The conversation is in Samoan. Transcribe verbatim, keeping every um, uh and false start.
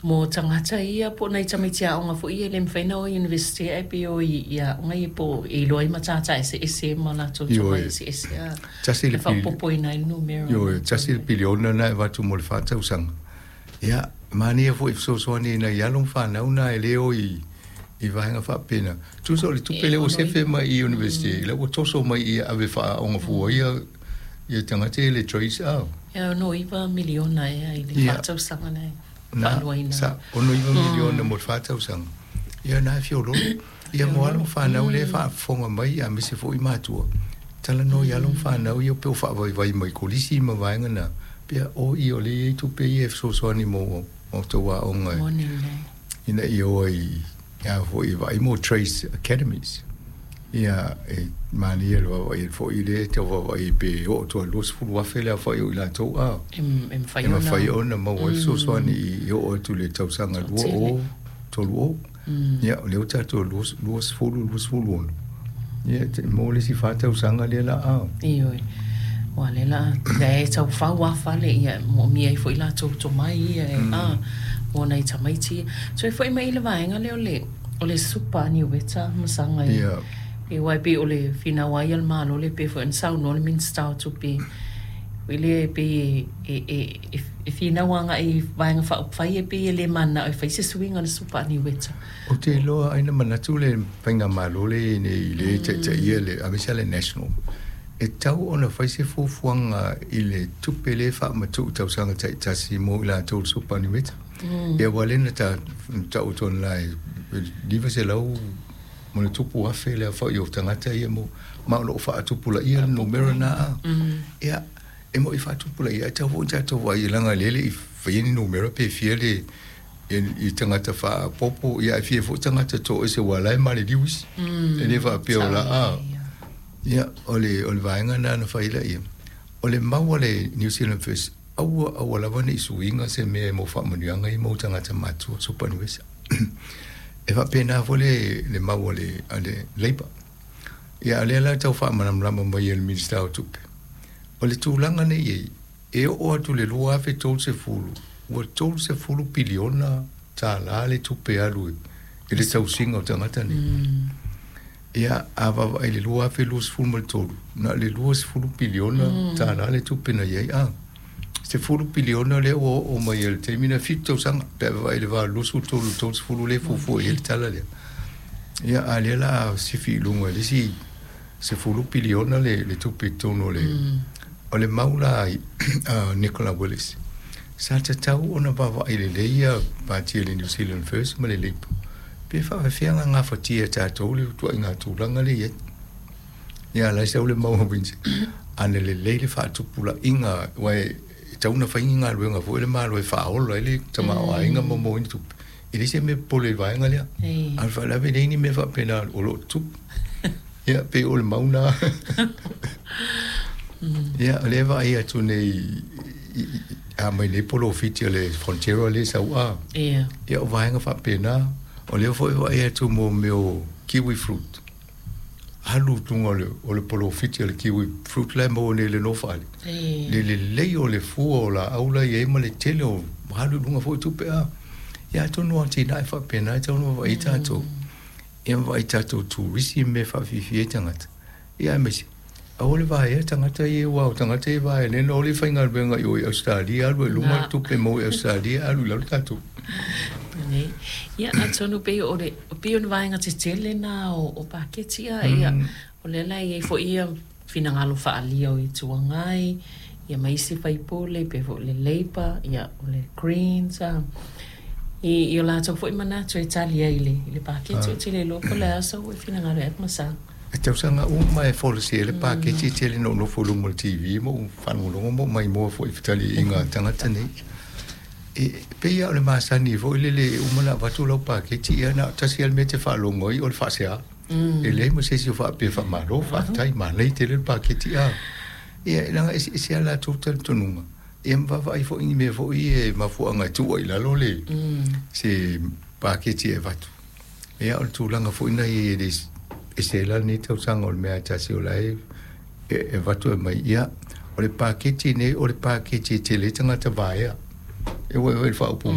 Mo tagata ia po o nai tamaiti aoga foi ia e le mafai ona o i Iunivesite ae pei o i i aoga ia po e iloa ai matata eseese ma latou tomai Ioe. eseese a Tasi e le pili, faaopoopoina ai le numera o ioe, latou tasi le ia. piliona na e avatu mo le fa tausaga. Ia, manaia foi fesoasoani i nai alo ma fanau na e le o i i vaega faapena. Tusa o le tupe E lea ua ono sefe iva. mai i University, lea ua toso mai i ave faaaoga fua ia ia tagata ia le trades a. E ono iva miliona ea i le Ia, fa tausaga na e na faaluaina sa ai. ono iva miliona mo le fa tausaga. Ia na e fiololo. Ia mo alo ma fanau lea e faafofoga mai aemaise foi matua. Talanoa i alo ma fanau ia pe o faavaivai mai kolisi ma vaega na. Pea o i o le i ai tupe ia e fesoasoani mo outou aoga Moni lelei. ina ia o ai a foi vaai mo Trace Academies. Ia e manaia le vaavaai foi lea e tau vaavaai pe oo atu i le luasefulu afe le aofai o i latou a E e mafai e ona mafai ona maua ai fesoasoani i oo atu i le tausaga lua toatele. o tolu o. Ia o lea ua tatou luasefulu luasefulu ono. Ia te maua le isi fa tausaga lea la a. Ioe, aua o lea la lea e tau fau lava fale, ia, e moomia ai foi latou tomai ia e a mo nai tamaiti ia. Toe foi mai i le vaega lea o le o le supa niueta ma saga e Ia. e aua e pei o le finau lava ia a le Malo lea pei foi ona saunoa le Minisita o Tupe foi lea e pei e e e e finau agai i vaega faaupufai e pei e le mananao e fai se suiga i le supa niueta. Ou te iloa ai na manatu le faigamalo lea e i ai nei i le taitaia le aemaise lava le National, e tatau ona fai se fuafuaga i le tupe lea e faamatuu i tausaga taitasi mo i latou o le Superannuation. Ia aua o lea na ta tau atu anala e lima selau ma le tupu afe le aofai o tagata ia mo ma o lo o faatupulaia le numera Faapupulaina. lena a. Ia, e moni faatupulaia ae tatau foi ona tatou vaai leaga o lea e le i faia ni numera pe fia le i tagata faaopoopo ia ae fia foi tagata toese aua o la e maliliu isi. E le faapea o la a. Ia, o le o le vaega lena na fai laia. O le mau a le New Zealand First, aua aua lava ne i suiga se mea mo faamanuiaga ia mo tagata matutua superannuation. E faapena foi le le mau a le a le Labour. Ia a o lea la e tau faamalamalama mai e le Minisita o Tupe. O le tulaga nei i ai, e oo atu i le lua afe tolu sefulu, ua tolu sefulu piliona tālā le tupe alu i le tausiga o tagata nei. Ia, a vaavaai i le lua afe luasefulu ma le tolu, na o le luasefulu piliona tālā le tupe na i ai a. Sefulu piliona lea ua oo mai i le taimi na fitu tausaga, pe a vaavaai i le va o le luasefulu tolu i le tolu sefulu lea e fuafua i ai le tala lea. Ia, a o lea o le a sifi i luga i le isi sefulu piliona le le tupe i totonu o le o le mau la a Nicola Willis. Sa tatau ona vaavaai lelei ia pati a le New Zealand First ma le Labour pe faafefea ona gafatia e tatou le ituaiga tulaga lea e i ai. Ia, o la e sau le mau a Windsor, ana lelei le faatupulaina aua e tatau ona fai ni galuega foi le Malo e faaola ai le tamaoaiga ma maua ai ni tupe. E leai se mea popole i le vaega lea. A o le faalavelave e leai ni mea faapena o lo o tutupu. Ia, pei o le mau lena. Ia, o lea e vaai atu nei a mai nei polofiti a le Fonterra lea e sau a. Ia. Ia, o vaega faapena. O lea foi e vaai atu mo mea o kiwi fruit. Alu i luga o le, o le polofiti a le kiwi fruit la e maua nei i le Nofoalii. Le lelei o le fua o laau la e i ai ma le tele o alu i luga foi tupe a. Ia, atonu o atinae faapena e tatau ona vaavaai ai tatou. Ia ma vaai i tatou turisi ma mea e faafiafia ai tagata. Ia aemaise, aua le vaea tagata ia aua o tagata ia e vaea nei na o le faigaluega i o i Ausetalia alu ai i luga le tupe e maua i Ausetalia alu i lalo tatou. Ia, atonu pei o le pei o ni vaega tetele na o, o paketi a ia o lea la e i ai foi ia finagalo faaalia o Itu Agai ia ma isi faipule pei foi o le Labour ia o le Greens a i, i o latou foi manatu e tali ai i le, i le paketi. Ou te le iloa po o le a sou finagalo e ma sa. E tausaga uma e folasia ai le paketi e tele ina ou nofo i luma o le T V ma ou faalogologo ma ou maimoa foi i fetaliaiga a tagata nei. E pei lava o le masani foi lele e uma ona avatu lau paketi ia na o tasi lava le mea e te faalogo ai o le faasea. E leai ma se isi o faapea faamalo, faafetai, manaia tele le paketi a. Ia, leaga e eseese lava latou talitonuga. Ia ma vaavaai foi i ni mea foi ia e mafuaaga e tuu ai i lalo le se paketi e avatu. Ia, o le tulaga foi lena i ai e le ese la lenei tausaga o le mea e tasi o la e e avatu e mai. Ia, o le paketi nei o le paketi e tele ai tagata vaea. E ua i le faaupuga.